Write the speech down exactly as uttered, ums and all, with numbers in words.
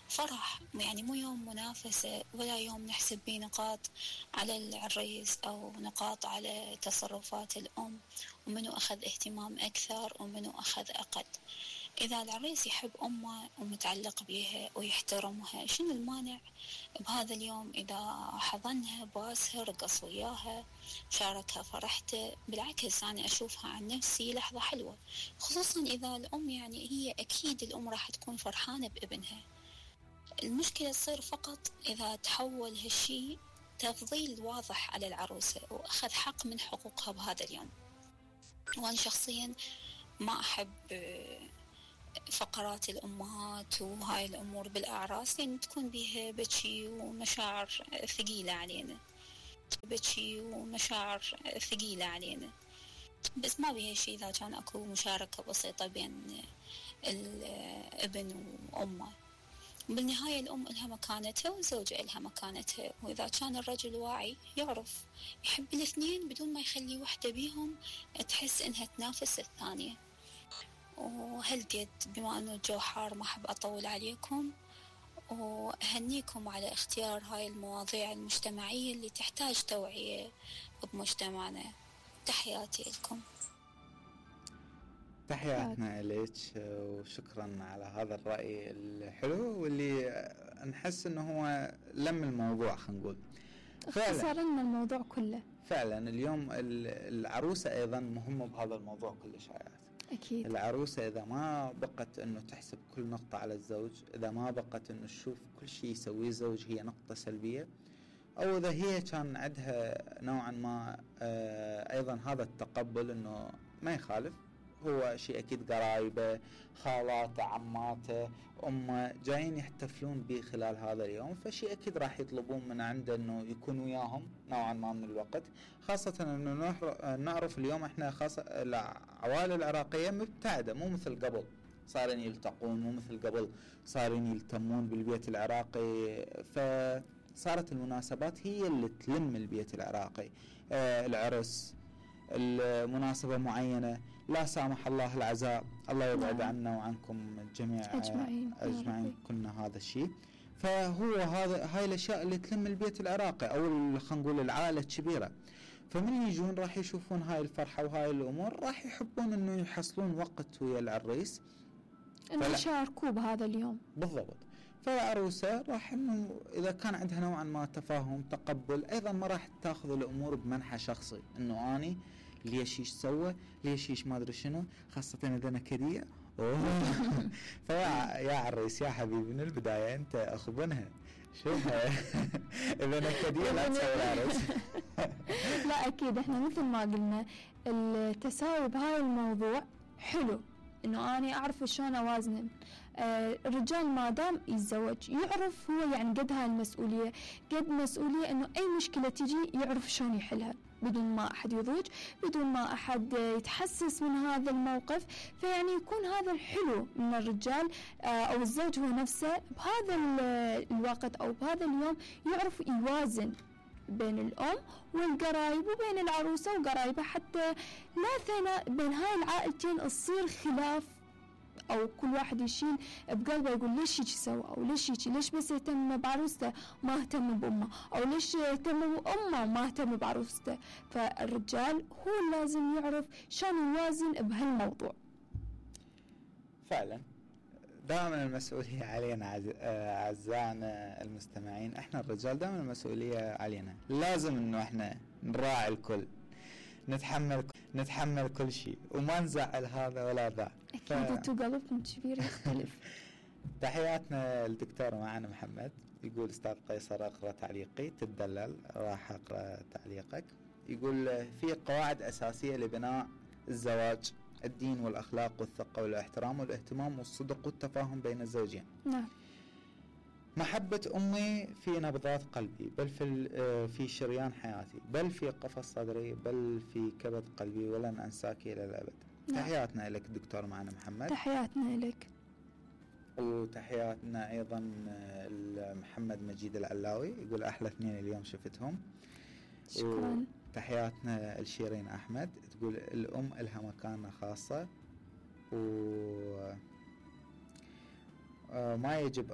فرح، يعني مو يوم منافسة ولا يوم نحسب بيه نقاط على العريس أو نقاط على تصرفات الأم ومنو أخذ اهتمام أكثر ومنو أخذ أقل. إذا العريس يحب أمه ومتعلق بيها ويحترمها، شنو المانع بهذا اليوم إذا حضنها باسها رقص وياها شاركها فرحته؟ بالعكس أنا أشوفها عن نفسي لحظة حلوة، خصوصا إذا الأم يعني هي أكيد الأم راح تكون فرحانة بابنها. المشكلة تصير فقط إذا تحول هالشي تفضيل واضح على العروسة وأخذ حق من حقوقها بهذا اليوم. وأنا شخصيا ما أحب فقرات الأمهات وهاي الأمور بالأعراس، لأن تكون بيها بكي ومشاعر ثقيلة علينا بكي ومشاعر ثقيلة علينا بس ما بيها شيء إذا كان أكو مشاركة بسيطة بين الابن وأمه. بالنهاية الأم إلها مكانتها والزوجة إلها مكانتها، وإذا كان الرجل واعي يعرف يحب الاثنين بدون ما يخلي وحدة بيهم تحس إنها تنافس الثانية. وهالقد بما أنه الجو حار ما أحب أطول عليكم، وأهنيكم على اختيار هاي المواضيع المجتمعية اللي تحتاج توعية بمجتمعنا. تحياتي لكم. تحياتنا إليك وشكرا على هذا الرأي الحلو واللي نحس أنه هو لم الموضوع، خلينا نقول اختصر لنا الموضوع كله. فعلا اليوم العروسة أيضا مهمة بهذا الموضوع كل شيء. أكيد. العروسة إذا ما بقت أنه تحسب كل نقطة على الزوج، إذا ما بقت أنه تشوف كل شيء يسويه الزوج هي نقطة سلبية، أو إذا هي كان عندها نوعا ما أيضا هذا التقبل أنه ما يخالف، هو شيء أكيد قرايبه خالاته عماته أمه جايين يحتفلون به خلال هذا اليوم، فشيء أكيد راح يطلبون من عنده أنه يكون وياهم نوعا ما من الوقت، خاصة أنه نعرف اليوم إحنا خاصة العوائل العراقية مبتعدة، مو مثل قبل صارين يلتقون، مو مثل قبل صارين يلتمون بالبيت العراقي، فصارت المناسبات هي اللي تلم البيت العراقي. آه العرس، المناسبة معينة، لا سامح الله العزاء، الله يبعد نعم. عنا وعنكم جميع أجمعين, أجمعين كنا هذا الشيء. فهو هذا هاي الأشياء اللي تلم البيت العراقي أو خلينا نقول العائلة الكبيرة، فمن يجون راح يشوفون هاي الفرحة وهاي الأمور، راح يحبون إنه يحصلون وقت ويا العريس إنه يشاركوا بهذا اليوم بالضبط. فالعروسة راح إنه إذا كان عندها نوعا ما تفاهم تقبل، أيضا ما راح تأخذ الأمور بمنحى شخصي إنه أني ليش إيش سوى ليش إيش ما أدري شنو، خاصة إذا نكدية فيا يا عريس يا حبيبي من البداية أنت أخو بنها شوف إذا نكدية لا تسوي عرس. لا أكيد إحنا مثل ما قلنا التساوي بهاي الموضوع حلو، إنه أنا أعرف شلون أوازن. آه الرجال ما دام يتزوج يعرف هو يعني قد هاي المسؤولية، قد مسؤولية إنه أي مشكلة تيجي يعرف شلون يحلها بدون ما أحد يضوج، بدون ما أحد يتحسس من هذا الموقف. فيعني يكون هذا الحلو من الرجال آه أو الزوج هو نفسه بهذا الوقت أو بهذا اليوم يعرف يوازن بين الأم والقرايب وبين العروسة وقرايبها، حتى لا ثنا بين هاي العائلتين تصير خلاف أو كل واحد يشيل بقلبه يقول ليش يجي سوى أو ليش يجي ليش بس يهتم بعروسته ما اهتم بأمه، أو ليش يهتم بأمه ما اهتم بعروسته. فالرجال هو لازم يعرف شلون يوازن بهالموضوع. فعلا دائما المسؤولية علينا أعزائنا المستمعين، احنا الرجال دائما المسؤولية علينا، لازم انه احنا نراعي الكل، نتحمل نتحمل كل شيء وما نزعل هذا ولا ذا. اكيد انتو قلبكم كبير يختلف. تحياتنا للدكتور معنا محمد، يقول استاذ قيصر اقرا تعليقي تدلل، راح اقرا تعليقك. يقول في قواعد اساسية لبناء الزواج: الدين والأخلاق والثقة والاحترام والاهتمام والصدق والتفاهم بين الزوجين. نعم. محبة أمي في نبضات قلبي، بل في في شريان حياتي، بل في قفص صدري، بل في كبد قلبي، ولن أنساك إلى الأبد. نعم. تحياتنا لك دكتور معنا محمد. تحياتنا لك. وتحياتنا أيضا محمد مجيد العلاوي، يقول أحلى اثنين اليوم شفتهم. شكرا. تحياتنا الشيرين أحمد، تقول الأم لها مكانة خاصة وما يجب